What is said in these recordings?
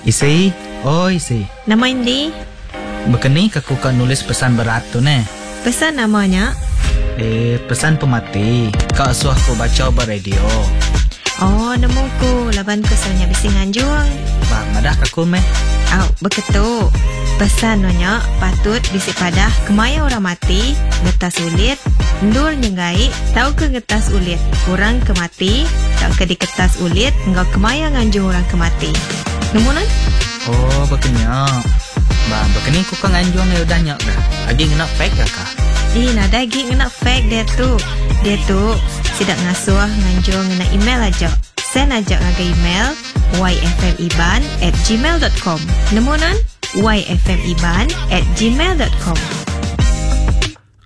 Isi, oi isi. Nama indi? Baka ni ke aku ka nulis pesan berat tu neh? Pesan nama nya? Eh, pesan pemati ka asuh aku bacha ba radio. Oh, nemu ku laban ku selalu nya bisi nganjung. Ba, madah ka aku meh. Au, beketu. Pesan nu nya patut bisi padah kemaya orang mati, ngetas ulit, endur nyenggai tauka ngetas ulit orang ke mati tauka diketas ulit enggau kemaya nganjung orang ke mati. Nemu nuan? Oh, baka nya. Ba, baka ni ku ka nganjung iya udah nya kah? Agi ngena fax ka kah? Ih, nadai agi ngena fax diatu. Diatu, sida ngasuh nganjung ngena email aja. Send aja ngagai email yfmiban at gmail dot com. Nemu nuan? yfmiban at gmail dot com.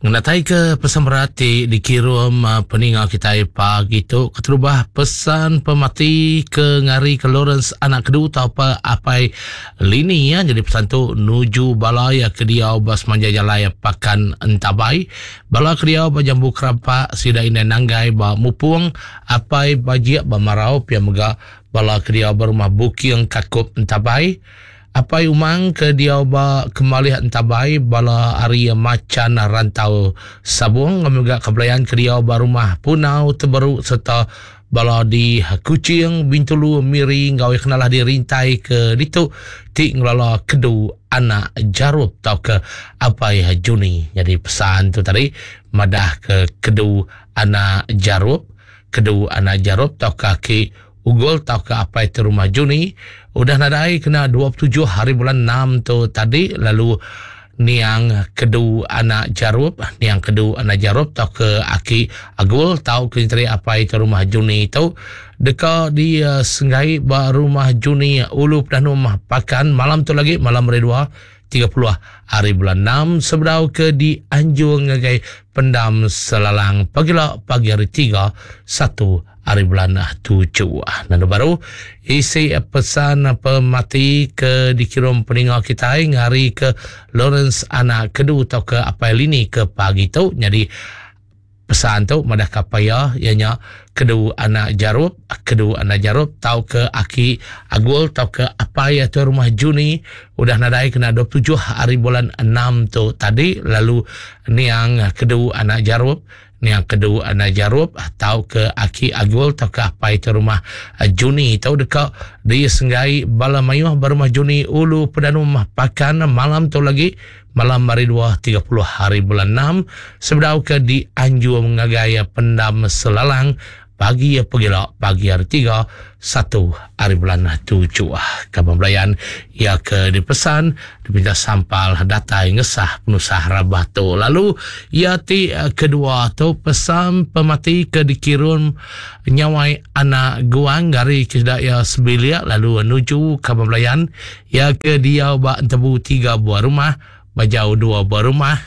Ngenataika pesan berat ti dikirum peninga kitai pagi tu keterubah pesan pemati ke ngarika Lawrence anak Kedu tauka Apai Lini ya jadi pesan tu nuju bala iya ke diau ba semanjai jalai Pakan Entabai bala ke diau ba Jambu Kerampak sida indai Nanggai ba Mupung Apai Bajik ba Marau pia mega bala ke diau ba rumah Buking Kakup Entabai Apai Umang ke diau ba Kemalih Entabai bala ari Machan Rantau Sabung enggau mega Kebelayan ke diau ba Rumah Punau Teberu sereta bala di Kuching, Bintulu, Miri enggau iya kenalah di rintai ke ditu ti ngelala Kedu Anak Jarup tauka Apai Juni. Nyadi pesan tu tadi madah ke Kedu Anak Jarup, Kedu Anak Jarup tauka aki Ugol tauka apai ti rumah Juni udah nadai kena 27 hari bulan enam tu tadi lalu niang Kedu anak Jarup, niang Kedu anak Jarup tauka aki Agul tauka nyenteri apai ti rumah Juni tu deka disenggai ba rumah Juni Ulu Pedanum Pakan malam tu lagi malam hari dua 30 hari bulan enam sebedau ke dianjung ngagai pendam Selalang pagila pagi hari tiga satu hari bulan tujuh. Nanda baru isi pesan pemati ke dikirum peninga kitai ngari ke Lawrence anak Kedu tauka Apai Lini ke pagi tu nyadi pesan tu madah ka apai iya iya nya Kedu anak Jarup, Kedu anak Jarup tauka aki Agul tauka apai tuai rumah Juni udah nadai kena 27 hari bulan enam tu tadi lalu niang Kedu anak Jarup Niang Kedu anak Jarup tauka aki Agul tauka apai tuai rumah Juni tu deka disenggai bala mayuh ba rumah Juni Ulu Pedanum Pakan malam tu lagi malam hari dua 30 hari bulan enam sebedau ke dianjung ngagai pendam Selalang pagi pegila pagi hari tiga satu hari bulan tujuh. Kaban belayan iya ke dipesan dipinta sampal datai ngesah penusah rabah tu. Lalu iya ti kedua tu pesan pemati ke dikirum nyawai anak guang gari ke sida iya sebilik lalu nuju kaban belayan Iya ke diau ba entebu tiga buah rumah, ba jauh dua buah rumah.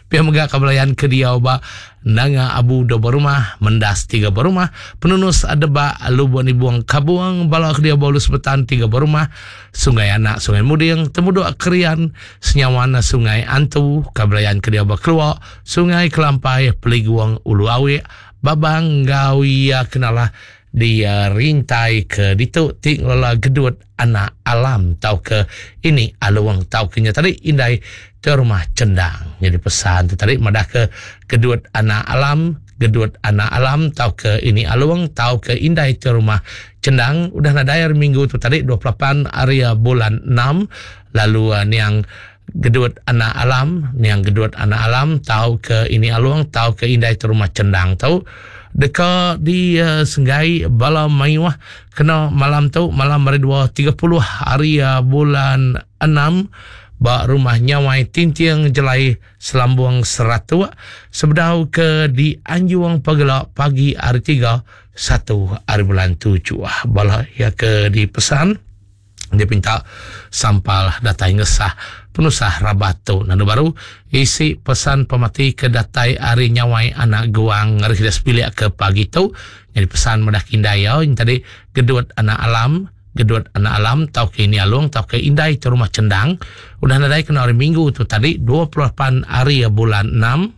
Pia mega ka belayan ke diau ba Nanga Abu dua buah rumah, Mendas tiga buah rumah, Penunus Debak, Lubuk Nibung Kabung, bala ke diau ba Ulu Sebetan tiga buah rumah, Sungai Anak, Sungai Muding, Temuduk Krian, Senyawan, Sungai Antu, ka belayan ke diau ba Kelua, Sungai Kelampai, Peliguong, Ulu Awik, Babang enggau iya ke nalah di rintai ke ditu ti ngelela gedut anak alam tauka ini alung tauka nya tadi indai ke rumah chendang. Nyadi pesan tu tadi madah ke gedut anak alam, gedut anak alam tauka ini alung tauka indai ke rumah chendang udah nadai hari minggu tu tadi 28 hari bulan 6 lalu niang gedut anak alam, niang gedut anak alam tauka ini alung tauka indai ke rumah chendang tu deka disenggai bala mayuh Kena malam tu, malam hari dua 30 hari bulan enam ba rumah Nyawai Tinting Jelai Selambung Seratuk sebedau ke dianjung pegela pagi hari tiga satu hari bulan tujuh. Bala iya ke dipesan dipinta sampal datai ngesah penusah rabat tu. Nandu baru isi pesan pemati ke datai ari Nyawai anak Guang ngari sida sebilik ke pagi tu. Nyadi pesan madah ke indai iya nya tadi Gedut anak Alam, Gedut anak Alam tauka ini Along tauka indai tu rumah Chendang udah nadai kena hari Minggu tu tadi 28 hari bulan enam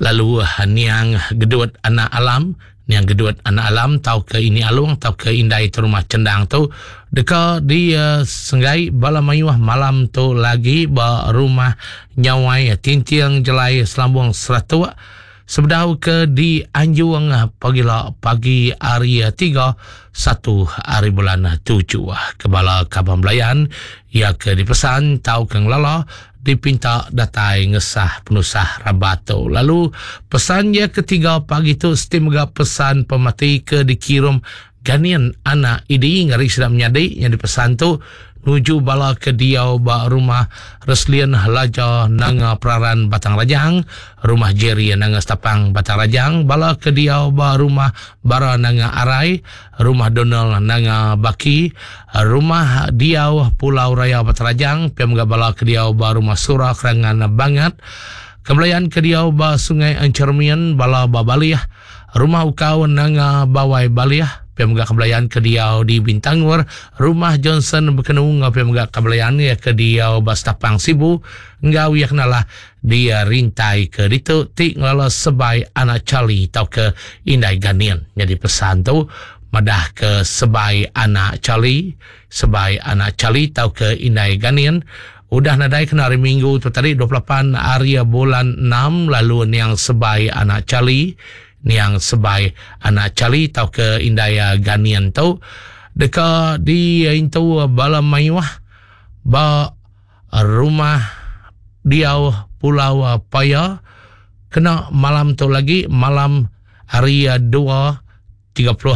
lalu niang Gedut anak Alam. Niang Gedut Anak Alam tauka Ini Alung tauka Indai Terumah Chendang tu deka disenggai bala mayuh malam tu lagi ba Rumah Nyawai Tinting Jelai Selambung Seratuk sebedau ke dianjung pagila pagi hari tiga satu hari bulan tujuh. Ke bala kaban belayan iya ke dipesan tauka ngelala dipinta datai ngesah penusah rabat tu. Lalu pesan iya ketiga pagi tu siti mega pesan pemati ke dikirum Ganin anak Idi ngari sida menyadi nyadi pesan tu nuju bala ke diau ba rumah Reslin Laja Nanga Peraran Batang Rajang, rumah Jerry Nanga Stapang Batang Rajang, bala ke diau ba rumah Bara Nanga Arai, Rumah Donald Nanga Baki, Rumah Diau Pulau Raya Batang Rajang, pia mega bala ke diau ba Rumah Sura Kerangan Bangat, Kebelayan ke diau ba Sungai Enchermin, bala ba Balih, Rumah Ukau Nanga Bawai Balih, pia mega Kebelayan ke diau di Bintangor, Rumah Johnson Bekenu enggau pia mega Kebelayan iya ke diau ba Stapang Sibu enggau iya kenalah di rintai ke ditu ti ngelala sebai anak Charlie tauka Indai Ganin. Nyadi pesan tu madah ke sebai anak Charlie, sebai anak Charlie tauka Indai Ganin udah nadai kena hari Minggu tu tadi 28 hari bulan 6 lalu niang sebai anak Charlie, niang sebai anak Charlie tauka Indai Ganin tu deka diintu bala mayuh ba rumah diau Pulau Paya kena malam tu lagi malam hari 2 31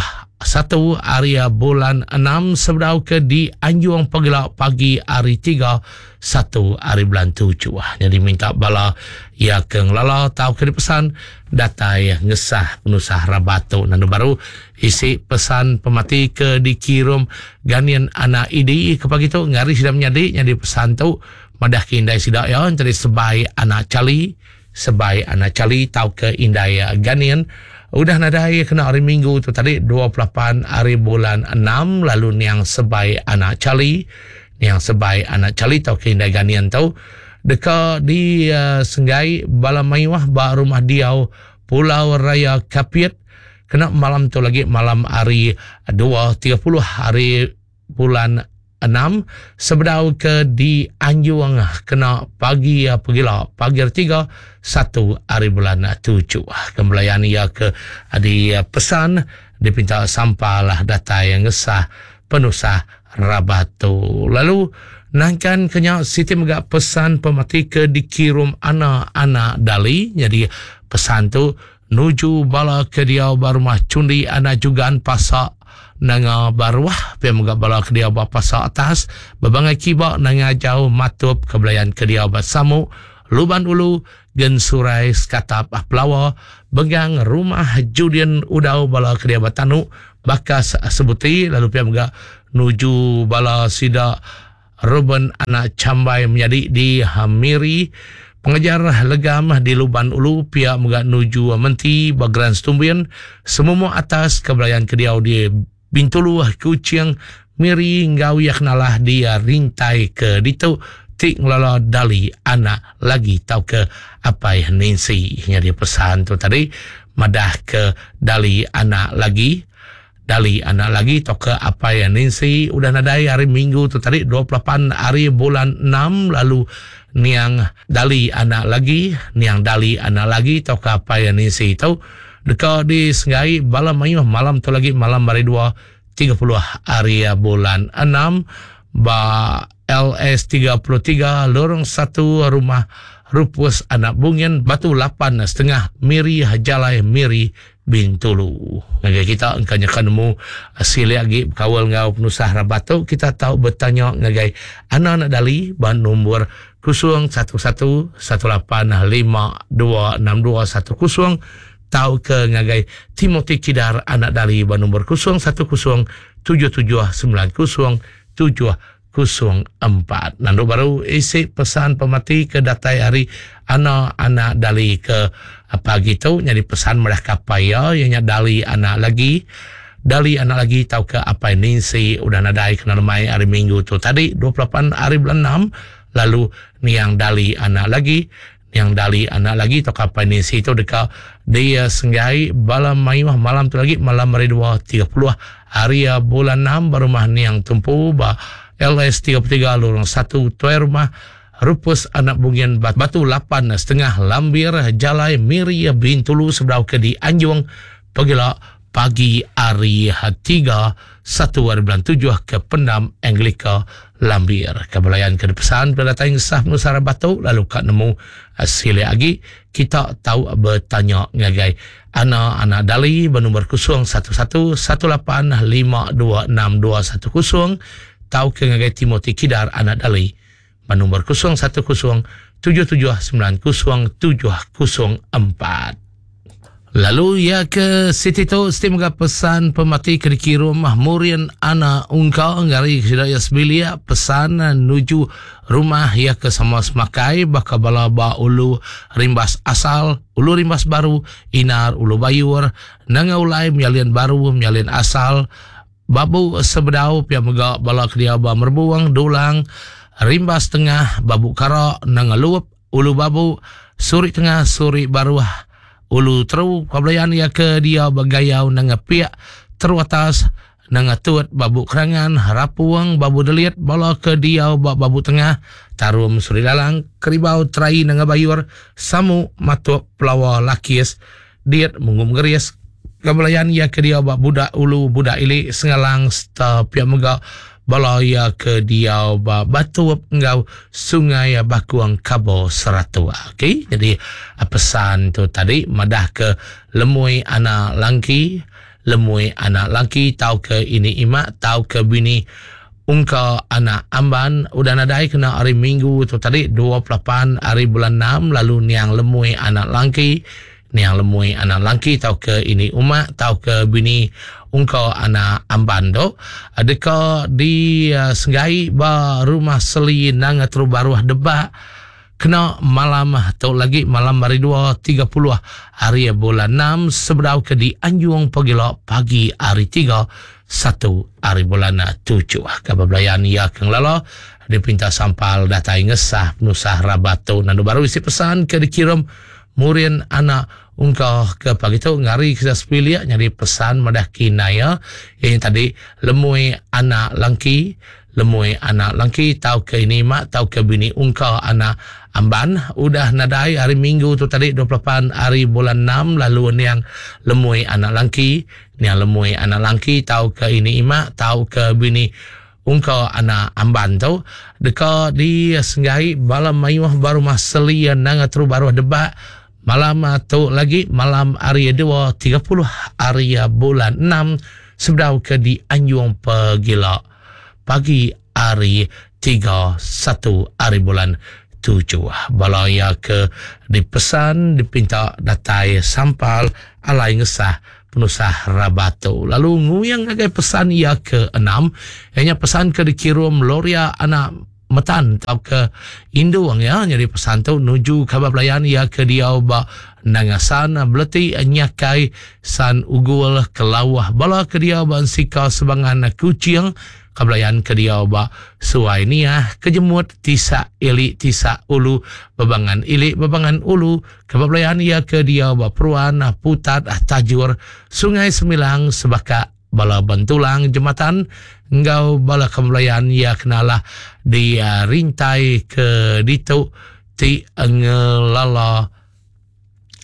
hari bulan 6 sebedau ke dianjung pagila pagi hari 3 1 hari bulan 7. Jadi minta bala ia ke ngelala tau ke dipesan datai ngesah penusah rabat tu. Nandu baru isi pesan pemati ke dikirum Ganin anak Idi ke pagi tu ngari sida menyadi nyadi pesan tu madah ke indai sida iya enteri sebai anak Charlie Sebai anak Charlie tauka indai Ganin udah nadai kena hari Minggu tu tadi 28 hari bulan 6 lalu niang Sebai anak Charlie niang Sebai anak Charlie tauka indai Ganin tu deka disenggai bala mayuh ba rumah diau Pulau Raya Kapit kena malam tu lagi malam hari 2.30 hari bulan 6 sebedau ke dianjung kena pagi pegila pagi hari 3 1 hari bulan 7. Kembelayan ia ke di pesan dipinta sampalah datai ngesah penusah rabat tu. Lalu nangkan kenya siti mega pesan pemati ke dikirum anak-anak dali. Jadi pesan tu nuju bala ke diau ba rumah Chundi anak Jugan Pasak Nanga Baruh pia mega bala ke diau ba Pasak Atas bebangai kiba Nanga Jauh Matup ke belayan ke diau ba Samuk Luban Ulu Gensurai Sekatap Pelawa Bengang Rumah Judin Udau bala ke diau ba Tanu Bakas Sebuti lalu pia mega nuju bala sida Reuben anak Chambai menyadi di Miri, pengajar legam di Luban Ulu pia mega nuju Menti ba Grand Stumbin, Semumuk Atas ke belayan ke diau di Bintulu, Kuching, Miri enggau iya kenalah di Rintai ke ditu ti ngelala Dali anak lagi tauka apai Nancy. Nyadi pesan tu tadi madah ke Dali anak lagi. Dali anak lagi tauka apai Nancy udah nadai hari Minggu tu tadi 28 hari bulan 6 lalu niang Dali anak lagi niang Dali anak lagi tauka apai Nancy tu deka disenggai bala mayuh malam tu lagi malam hari 2 30 hari bulan 6 ba LS 33 Lorong 1 Rumah Rupus Anak Bungin Batu 8 setengah Miri Jalai Miri Bintulu. Ngagai kita engka nyeka nemu silik agi bekaul enggau penusah rabat tu, kita tau betanya ngagai Ana Anak Dali ba nombor 011 18 52 62 10 tauka ngagai Timothy Kidar Anak Dali ba nombor 010 77 90 7 04. Nandu baru isi pesan pemati ke datai ari Ana anak Dali ke pagi tu nyadi pesan madah ke apai iya iya nya Dali anak lagi. Dali anak lagi tauka apai Nancy udah nadai kena lemai hari Minggu tu tadi 28 hari bulan 6 lalu niang Dali anak lagi. Niang Dali anak lagi tauka apai Nancy tu deka disenggai bala mayuh malam tu lagi malam hari 2.30 hari bulan 6 ba rumah Niang Tumpu ba LS 33 Lorong 1 Tuai Rumah Rupus Anak Bungin Batu 8.5 Lambir Jalai Miri Bintulu sebedau ke dianjung pegila pagi hari 3 1 hari bulan 7 ke Pendam Anglika Lambir. Ke belayan ke dipesan bila datai ngesah penusah rabat tu lalu ka nemu silik agi kita tau betanya ngagai Ana Anak Dali bernombor 011 18 52 6210 tau ke ngagai Timothy Kidar Anak Dali bernombor 010 77 90 704. Lalu iya ke siti tu siti mega pesan pemati ke dikirum Murin Ana Ungka ngari sida iya sebilik pesan nuju rumah iya ke sama semakai baka bala ba Ulu Rimbas Asal, Ulu Rimbas Baru, Inar Ulu Bayur, Nanga Ulai Menyalin Baru, Menyalin Asal, Babu Sebedau pia mega bala ke diau ba Merbung, Dulang, Rimbas Tengah, Babu Kara, Nanga Lup, Ulu Babu, Suri Tengah, Suri Baruh, Ulu Teru, Pabelayan iya ke diau ba Gayau Nanga Pik, Teru Atas, Nanga Tut, Babu Kerangan, Rapung, Babu Delit, bala ke diau ba Babu Tengah, Tarum Suri Lalang, Keribau Terai Nanga Bayur, Samu, Matuk, Pelawa, Lakis, Diet, Munggu Megeris, Pabelayan iya ke diau ba Budak Ulu, Budak Ili, Sengalang sereta pia mega bala iya ke diau ba Batup enggau Sungai Bakung Kabo Seratok. Okey, jadi pesan tu tadi madah ke lemui anak langki, lemui anak langki tauka ini imak tauka bini ungka anak amban udah nadai kena hari Minggu tu tadi 28 hari bulan 6 lalu niang lemui anak langki Niang Lemui anak langki tauka ini umak tauka bini ungka anak amban tu deka disenggai ba Rumah Seli Nanga Teru Baruh Debak kena malam tu lagi malam hari 2.30 hari bulan 6 sebedau ke dianjung pegila pagi hari 3 1 hari bulan 7. Kabar belayan iya ke ngelala dipinta sampal datai ngesah penusah rabat tu nandu baru isi pesan ke dikirim Murin anak ungka ke pagi tu ngari ke sepilik nyadi pesan madah kinai iya iya nya tadi lemui anak langki lemui anak langki tauka ini mak tauka bini ungka anak amban udah nadai hari minggu tu tadi 28 hari bulan 6 lalu niang lemui anak langki niang lemui anak langki tauka ini imak tauka bini Ungka anak Amban tu deka disenggai bala mayuh ba Rumah Seli Nanga Teru Baruh Debak malam tu lagi malam hari 2.30 hari bulan 6 sebedau ke dianjung pegila pagi hari 3.1 hari bulan 7. Bala iya ke dipesan dipinta datai sampal alai ngesah penusah rabat tu. Lalu nguyang ngagai pesan iya ke enam, iya nya pesan ke dikirum Loria anak Metan tauka Indung ya nyadi pesan tu nuju kaban belayan iya ke diau ba Nangasan, Beleti, Nyakai, San Ugul, Kelauh, bala ke diau ba Ensika Sebangan Kuching, Kabelayan ke diau ba Suai Niah, Kejemut, Tisak, Ili, Tisak, Ulu, Bebangan Ili, Bebangan Ulu, Kebabelayan iya ke diau ba Peruan, Putat, Tajur, Sungai Semilang, Sebaka, bala Bentulang, Jematan enggau bala kebelayan iya ke nalah di rintai ke ditu ti ngelala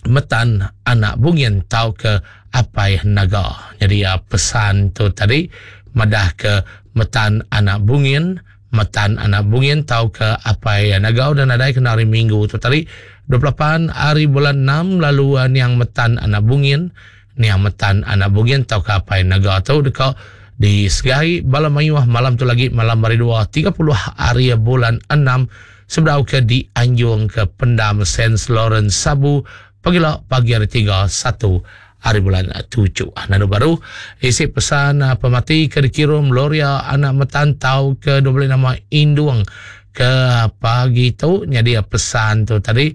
Metan anak Bungin tauka Apai Naga. Nyadi pesan tu tadi madah ke Metan anak Bungin Metan anak Bungin tauka Apai Naga udah nadai kena hari Minggu tu tadi 28 hari bulan 6 lalu niang Metan anak Bungin niang Metan anak Bungin tauka Apai Naga tu deka disegai bala mayuh malam tu lagi malam hari 2 30 hari bulan 6 sebedau ke dianjung ke pendam Saint Lawrence Sabu pagila pagi hari 3 1 hari bulan 7. Nanu baru isi pesan pemati ke dikirum Loria anak Metan tau ke 12 nama Indung ke pagi tu nyadi pesan tu tadi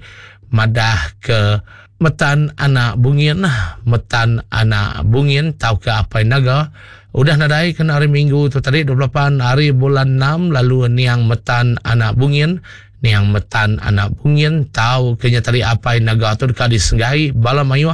madah ke Metan anak Bungin Metan anak Bungin tau ke Apai Naga udah nadai kena hari Minggu tu tadi 28 hari bulan 6 lalu niang Metan anak Bungin. Niang Metan anak Bungin tau ke nya tadi apai naga tu deka disenggai bala mayuh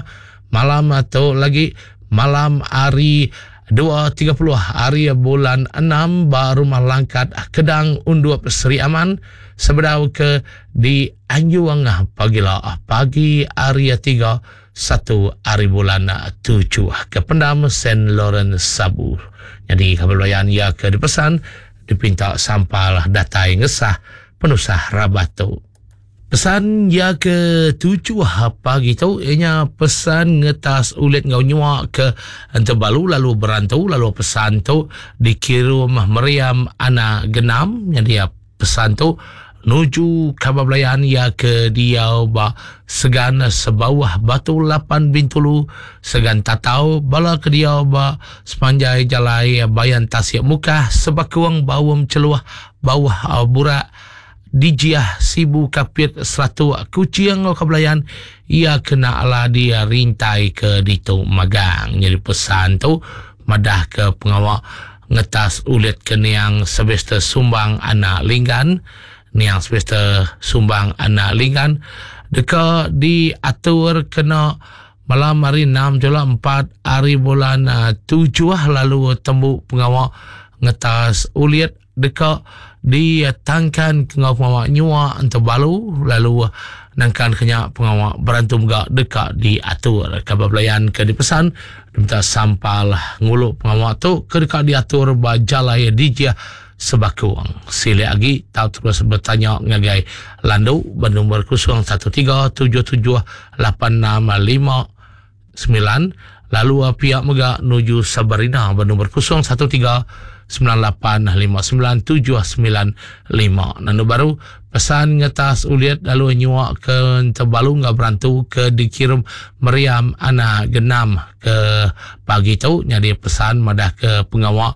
malam tu lagi malam hari 2.30 hari bulan 6 ba Rumah Langkat Kedang Undup Sri Aman sebedau ke di Anjung pagila pagi hari 3 1 hari bulan 7 ke pendam Saint Lawrence Sabu. Jadi kabar belayan ia ke dipesan dipinta sampal datai ngesah penusah rabat tu. Pesan iya ke tujuh pagi tu iya nya pesan ngetas ulit enggau nyua ke Entebalu lalu berantu lalu pesan tu dikirum Meriam anak Genam nyadi pesan tu nuju kaban belayan iya ke diau ba Segan Sebauh Batu Lapan Bintulu Segan Tatau bala ke diau ba sepanjai jalai Bayan Tasik Mukah Sebakung Baum Cheluh Bauh Burak Dijiah Sibu Kapit Seratuk Kuching enggau Kabelayan iya kena ala dirintai ke ditu magang. Nyadi pesan tu madah ke pengawa ngetas ulit ke niang Sylvester Sumbang anak Linggan niang Sylvester Sumbang anak Linggan deka diatur kena malam hari 6 jula 4 hari bulan 7 lalu tembu pengawa ngetas ulit deka ditangkan ke enggau pengawa nyua entebalu lalu nangkan ke nya pengawa berantu mega deka diatur. Kaban belayan ke dipesan diminta sampal ngulu pengawa tu ke deka diatur ba Jalai Dijih Sebakung. Silik agi tau terus betanya ngagai Landu ba nombor 013 77 86 5 9 lalu pia mega nuju Sabarina ba nombor 013 9859 795. Nanu baru pesan ngetas ulit lalu nyua ke Tebalu enggau berantu ke dikirum Meriam anak Genam ke pagi tu nyadi pesan madah ke pengawa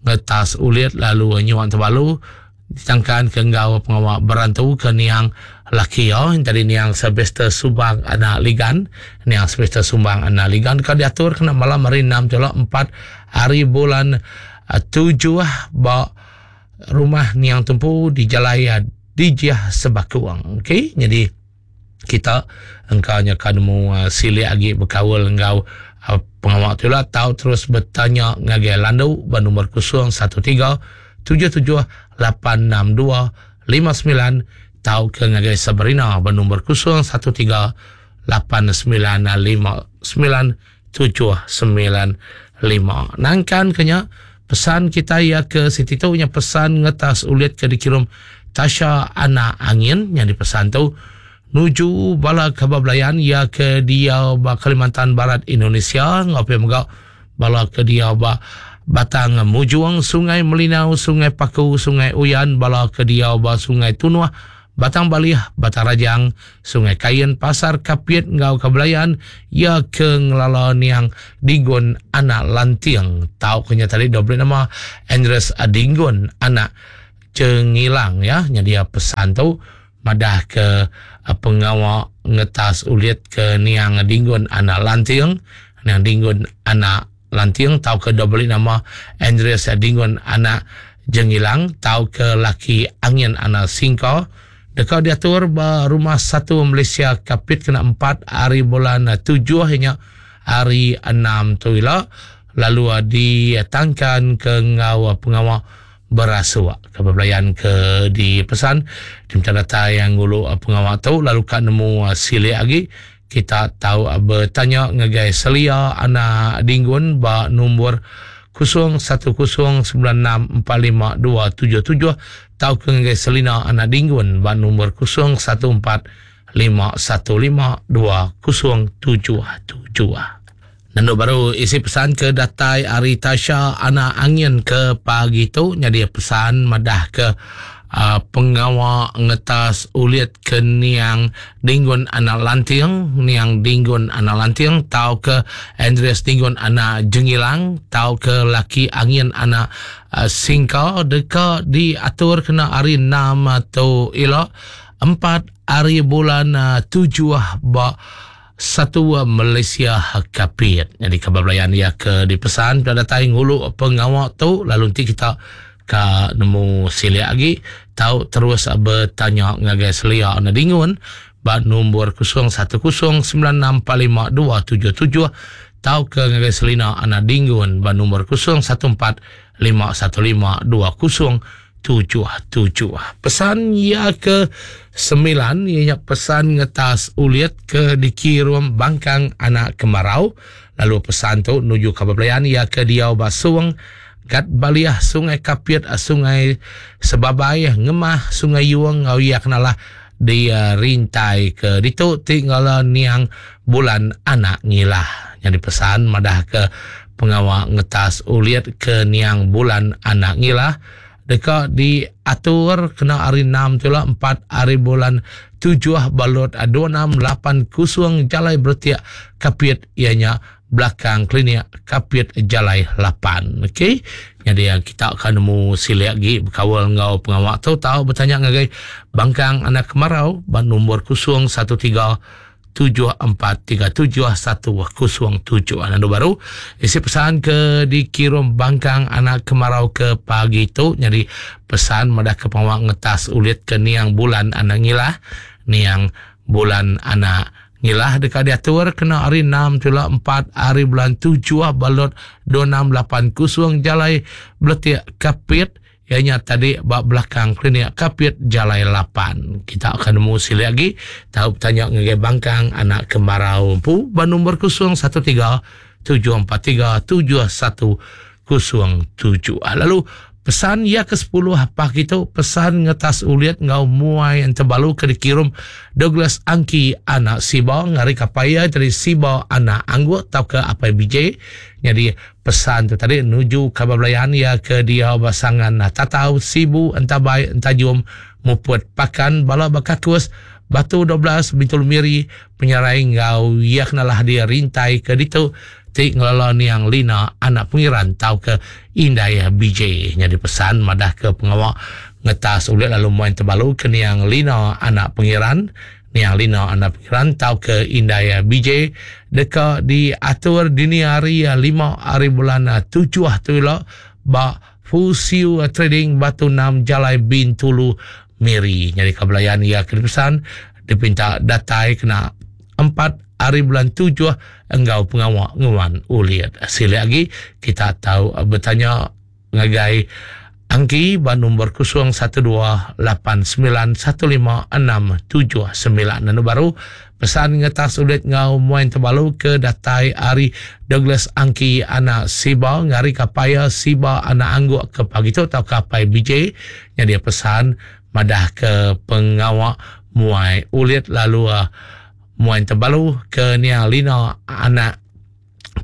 ngetas ulit lalu nyua Tebalu Ditangkan ke enggau pengawa berantu ke niang laki iya tadi niang Sylvester Subang anak Ligan. Niang Sylvester Sumbang anak Ligan ka diatur kena malam hari 6 jula 4 hari bulan 7 ba rumah niang tumpu di Jalai Dijih Sebakung. Okey, jadi kita engka nya ka nemu silik agi bekaul enggau pengawa tu ila tau terus betanya ngagai Landu ba nombor 013 77 862 59 tauka ngagai Sabrina ba nombor 013 89 59 795. Nangkan ke nya, pesan kita iya ke siti tu nya pesan ngetas ulit ke dikirum Tasha Anak Angin nya dipesan tu nuju bala kaban belayan iya ke diau ba Kalimantan Barat Indonesia enggau pia mega bala ke diau ba Batang Mujung, Sungai Melinau, Sungai Paku, Sungai Uyan, bala ke diau ba Sungai Tunuh, Batang Balih, Batang Rajang, Sungai Kain, Pasar Kapit enggau Kabelayan, iya ke ngelala niang Dinggon anak Lanting tauka nya tadi dau beri nama Andreas Dinggon anak Chengilang ya. Nyadi pesan tu madah ke pengawa ngetas ulit ke niang Dinggon anak Lanting, niang Dinggon anak Lanting tauka dau beri nama Andreas Dingun anak Jengilang tauka laki Angin anak Singka deka diatur ba Rumah Satu Malaysia Kapit kena 4 hari bulan 7 iya nya hari 6 tu ila lalu ditangkan ke enggau pengawa berasuk ke bebelayan ke dipesan diminta datai ngulu pengawa tu lalu ka nemu silik agi Kita tau betanya ngagai Selia anak Dinggun ba nombor 0109645277 tauka ngagai Selina anak Dinggun ba nombor 0145152077. Nendu baru isi pesan ke datai ari Tasha anak Angin ke pagi tu nyadi pesan madah ke uh, pengawa ngetas ulit ke niang Dinggun anak Lanting, niang Dinggun anak Lanting tau ke Andreas Dinggun anak Jengilang tau ke laki Angin anak uh, Singka deka diatur kena hari 6 tu ila 4 hari bulan uh, 7 ba Satu Malaysia Kapit. Nyadi kaban belayan iya ke dipesan peda datai ngulu pengawa tu lalu enti kita Ka nemu silik agi tau terus betanya ngagai Selia Enda Dingun ba nombor 0109645277 tauka ngagai Selina Anak Dinggun ba nombor 0145152077. Pesan iya ke semilan iya nya pesan ngetas ulit ke dikirum Bangkang Anak Kemarau lalu pesan tu nuju kaban belayan iya ke diau ba Song Gat Baliah, Sungai Kapit, Sungai Sebabai, Ngemah, Sungai Yung enggau iya kenalah di rintai ke ditu ti ngala niang bulan anak ngilah. Nyadi pesan madah ke pengawa ngetas ulit ke niang bulan anak ngilah deka diatur kena hari enam tu ila empat hari bulan tujuh ba lot 2680 Jalai Beretik Kapit iya nya belakang klinik Kapit Jalai 8. Okey. Nyadi kita akan nemu silik agi bekaul enggau pengawa tu tau betanya ngagai Bangkang Anak Kemarau ba nombor 013 7437107. Lalu baru isi pesan ke dikirum Bangkang Anak Kemarau ke pagi tu nyadi pesan madah ke pengawa ngetas ulit ke niang bulan anak ngilah niang bulan anak Ngilah deka diatur kena hari enam tula empat hari bulan tujuh ba lot 2680 Jalai Beletik Kapit iya nya tadi ba belakang Klinik Kapit Jalai lapan. Kita akan nemu silik agi tau betanya ngagai Bangkang Anak Kemarau empu ba nombor 013 743 7107. Lalu pesan iya ke 10 pagi tu pesan ngetas ulit enggau muai entebalu ke dikirum Douglas Angki anak Siba ngari kapai iya dari Siba anak Anggut tauka Apai BJ. Nyadi pesan tu tadi nuju kaban belayan iya ke diau ba Sangan Tatau, Sibu, Entabai, Entajum, Muput, Pakan, Bala Bakakus, Batu 12, Bintulu Miri, Penyarai enggau iya kenalah dia rintai ke ditu ti ngelala niang Lina anak Pengiran tauka indai BJ. Nyadi pesan madah ke pengawa ngetas ulit lalu muai tebalu ke niang Lina anak Pengiran, niang Lina anak Pengiran tauka indai BJ deka diatur dini hari lima hari bulan tujuh tu ila ba Fusiu Trading Batu 6 Jalai Bintulu Miri. Nyadi ka belayan iya ke dipesan dipinta datai kena empat hari bulan tujuh enggau pengawa nguan ulit. Silik agi kita tau betanya ngagai Angki ba nombor 0128915679. Anu baru pesan ngetas ulit enggau muai tebalu ke datai ari Douglas Angki anak Siba ngari kapaya Siba anak Angguk ke pagi tu tauka apai BJ. Nyadi pesan madah ke pengawa muai ulit lalu muai tebalu ke niang Lina anak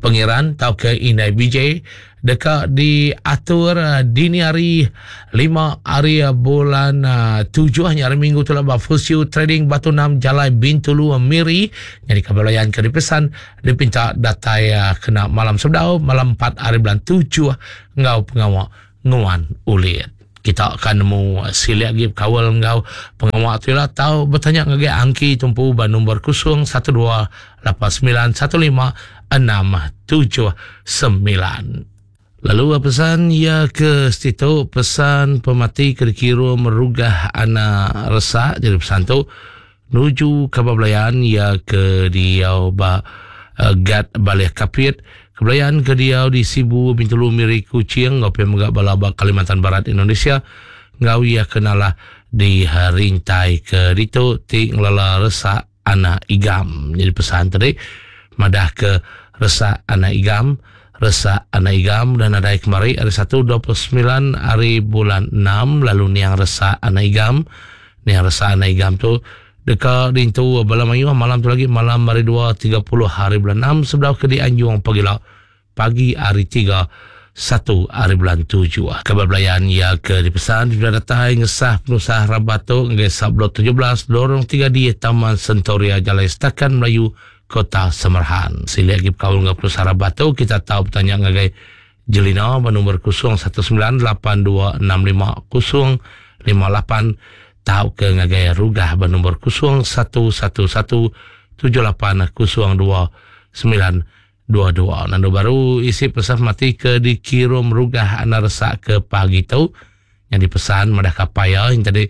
Pengiran tauka indai BJ deka diatur dini hari lima hari bulan tujuh nya hari minggu tu lah ba Fusiu Trading Batu 6 Jalai Bintulu Miri. Nyadi ka belayan ke dipesan dipinta datai kena malam sebedau malam 4 hari bulan 7 enggau pengawa nguan ulit. Kita akan nemu silik agi bekaul enggau pengawa tu ila tau betanya ngagai Angki tumpu ba nombor 0128915679. Lalu pesan iya ke setitu pesan pemati ke dikirum Rugah anak Resak jadi pesan tu nuju kaban belayan iya ke diau ba Gat Balih Kapit, kebelayan ke diau di Sibu, Bintulu, Miri, Kuching enggau pia mega bala ba Kalimantan Barat Indonesia enggau iya ke nalah di rintai ke ditu ti ngelala Resak Anak Igam. Nyadi pesan tadi madah ke Resak Anak Igam, Resak Anak Igam udah nadai kemari hari Satu 29 hari bulan 6 lalu niang Resak Anak Igam. Niang Resak Anak Igam tu deka diintu bala mayuh malam tu lagi malam hari 2 30 hari bulan 6 sebedau ke dianjung pagila pagi hari 3 1 hari bulan 7. Kabar belayan ia ke dipesan sudah datai ngesah penusah rabat tu ngagai Subblok 17 Lorong 3D Taman Sentoria Jalai Setakan Melayu Kota Samarahan. Silik lagi bekaul enggau penusah rabat tu kita tau betanya ngagai Jelina ba nombor 0198265058 tauka ngagai Rugah ba nombor 0111780292. Nandu baru isi pesan mati ke dikirum Rugah anak resak ke pagi tu. Nyadi pesan madah ka apai iya nya tadi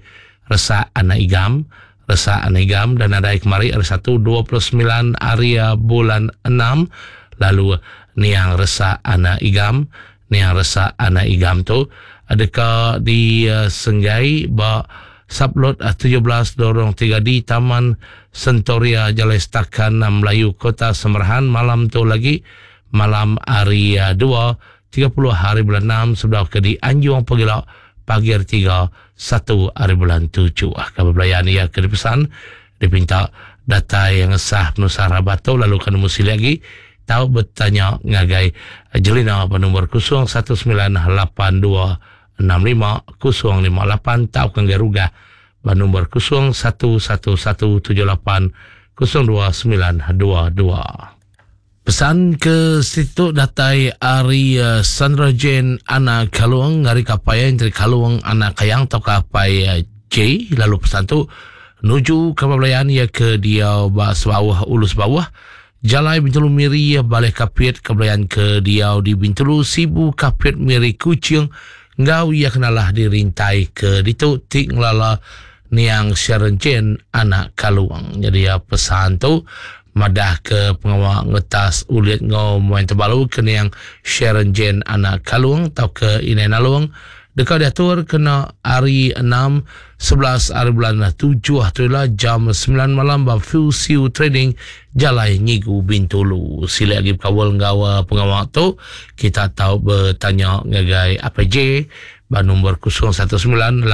resak anak Igam, resak anak Igam dan nadai kemari hari Satu 29 hari bulan enam lalu niang resak anak Igam, niang resak anak Igam tu deka disenggai ba Sublot 17 Lorong 3D Taman Sentoria Jalai Setakan Melayu Kota Samarahan malam tu lagi malam hari dua 30 hari bulan enam sebedau ke dianjung pegila pagi hari tiga satu hari bulan tujuh. Kaban belayan iya ke dipesan dipinta datai ngesah penusah rabat tu lalu ke nemu silik agi tau betanya ngagai Jelina ba nombor 0198265058 tauka ngagai Rugah ba nombor 0111780292. Pesan ke situ datai ari Sandra Jane anak Kalung ari kapai entri Kalung anak Kayang tauka apai J lalu pesan tu nuju kaban belayan iya ke diau ba Sebauh Ulu Sebauh Jalai Bintulu Miri Baleh Kapit ke belayan ke diau di Bintulu Sibu Kapit Miri Kuching enggau iya kenalah dirintai ke ditu ti ngelala Niang Sharon Jane anak Kalung. Nyadi iya pesan tu madah ke pengawa ngetas ulit enggau main tebalu ke niang Sharon Jane anak Kalung tauka Inai Nalong deka diatur kena hari enam 11 hari bulan tujuh tu ila jam 9 malam ba Fusiu Trading Jalai Nyigu Bintulu. Silik agi bekaul enggau eh, pengawa tu kita tau betanya ngagai APJ ba nombor 019 8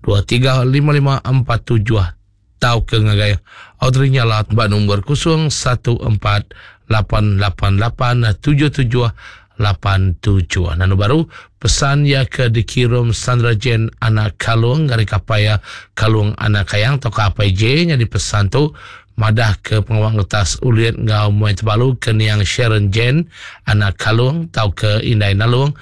235547 tauka ngagai Audrey Nyala ba nombor 0148887787. Nanu baru pesan iya ke dikirum Sandra Jane anak Kalung ari kapai iya Kalung anak Kayang tauka apai J nyadi pesan tu madah ke pengawa ngetas ulit enggau muai tebalu ke niang Sharon Jane anak Kalung tauka Indai Nalung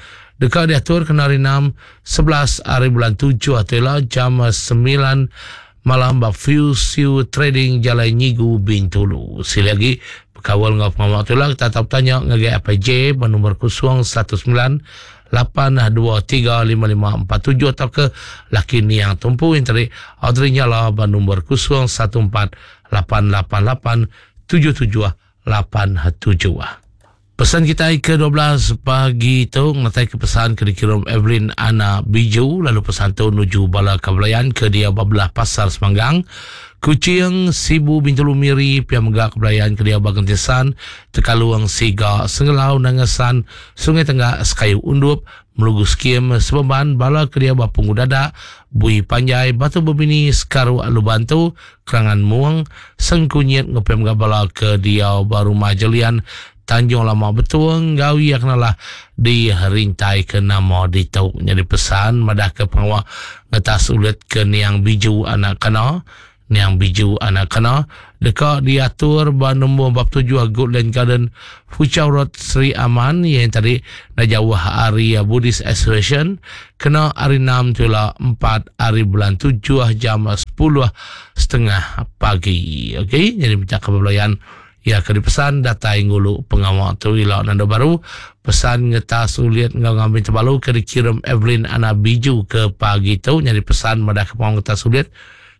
deka diatur kena hari enam 11 hari bulan tujuh tu ila jam 9 malam ba Fusiu Trading Jalai Nyigu Bintulu. Sili agi bekaul enggau pengawa tu ila kita tau betanya ngagai Apai J ba nombor 019 823 5547 tauka laki niang tumpu yang tadi Audrey Nyala ba nombor 014 888 7787. Pesan kitai ke 12 pagi tu ngetai ke pesan ke dikirum Evelyn Ana Biju lalu pesan tu nuju bala kebelayan ke dia ba belah pasar Semanggang, Kuching, Sibu, Bintulu, Miri, pia mega kebelayan ke dia ba Gentisan, Tekalung, Siga, Sengelau, Nangasan, Sungai Tenggak, Sekayu Undup, Melugu Skim, Sebemban, bala ke dia ba Punggu Dadak, Bui Panjai, Batu Bebini, Sekaruk, Lubantu, Kerangan Mung, Sengkunyit enggau pia mega bala ke diau ba Rumah Jelian, Tanjung Lama Betung enggau iya kenalah dirintai ke nama ditu. Nyadi pesan madah ke pengawa ngetas ulit ke niang Biju anak Kana, niang Biju anak Kana deka diatur ba nombor 47 Goodland Garden, Foochow Road, Sri Aman iya yang tadi enda jauh ari Buddhist Association kena hari enam tu ila empat hari bulan tujuh jam sepuluh setengah pagi. Okey, jadi minta ke belayan iya ke dipesan datai ngulu pengawa tu ila nanda baru pesan ngetas ulit enggau ngambi tebalu ke dikirim Evelyn Ana Biju ke pagi tu nyadi pesan madah ke pengawa ngetas ulit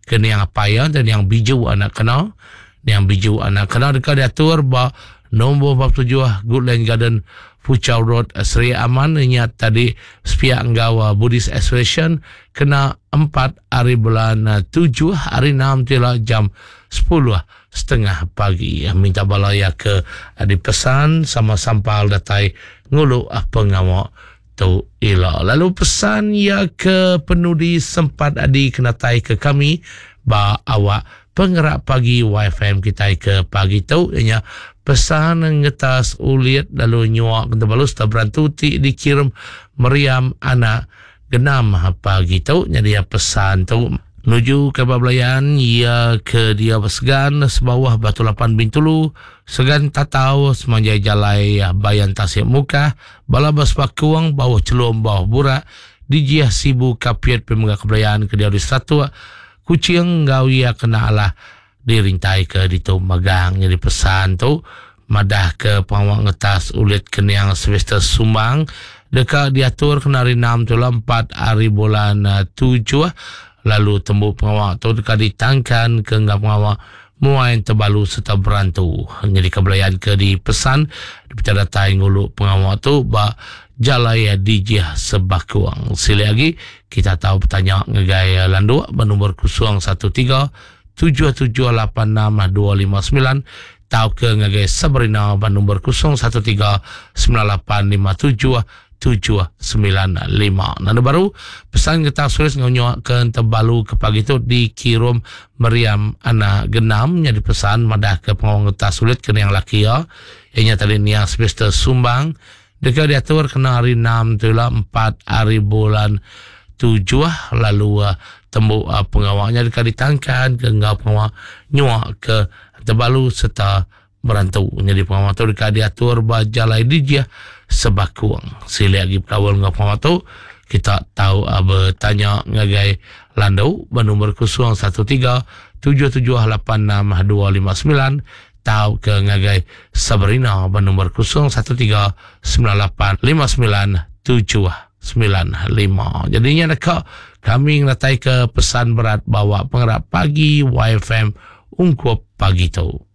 ke niang apai iya dan niang Biju anak kena niang Biju anak kena deka diatur ba nombor 47 Goodland Garden Foochow Road Sri Aman nya tadi sepiak enggau Buddhist Association kena 4 hari bulan 7 hari 6 tu ila jam 10 setengah pagi. Minta bala iya ke dipesan sama sampal datai ngulu pengawa tu ila. Lalu pesan iya ke penudi sempat adi kenatai ke kami ba awak pengerak pagi YFM kitai ke pagi tu iya nya pesan ngetas ulit lalu nyua ke tebalu serta berantu ti dikirim meriam anak Genam pagi tu nyadi pesan tu nuju ke ba belayan iya ke diau ba Segan sebauh Batu Lapan Bintulu, Segan Tatau semanjai jalai Bayan Tasik Mukah, bala ba Sepakung, Bauh Chelum, Bauh Burak, Dijih Sibu Kapit pemega ke belayan ke diau di Seratuk, Kuching enggau iya kena alah dirintai ke ditu magang nyadi pesan tu madah ke pengawa ngetas ulit kening Sylvester Sumbang. deka diatur kena hari enam tu ila empat hari bulan tujuh lalu tembu pengawa tu deka ditangkan ke enggau pengawa muai tebalu sereta berantu. Nyadika belayan ke dipesan dipeda datai ngulu pengawa tu ba Jalai Dijih Sebakung. Silik agi kita tau betanya ngagai Landuk ba nombor 013 7786 259 tauka ngagai Sabrina ba nombor 013 9857 795. Nanda baru, pesan getah sulis enggau nyuak ke entebalu ke pagi tu dikirum Meriam Anak Genam nyadi pesan madah ke pengawa ngetah sulit ke niang laki iya, iya nya tadi niang Sylvester Sumbang deka diatur kena hari enam tu ila empat hari bulan tujuh lalu tembu pengawa nya deka ditangkan ke enggau pengawa nyuak ke entebalu sereta Berantu nyadi pengawa tu deka diatur ba Jalai Dijih Sebakung. Silik agi bekaul enggau pengawa tu, kita tau betanya ngagai Landu ba nombor 013 7786 259 tauka ngagai Sabrina ba nombor 013 9859 795. Jadi nya deka kami ngenataika pesan berat bawa pengerap pagi YFM ungkup pagi tu.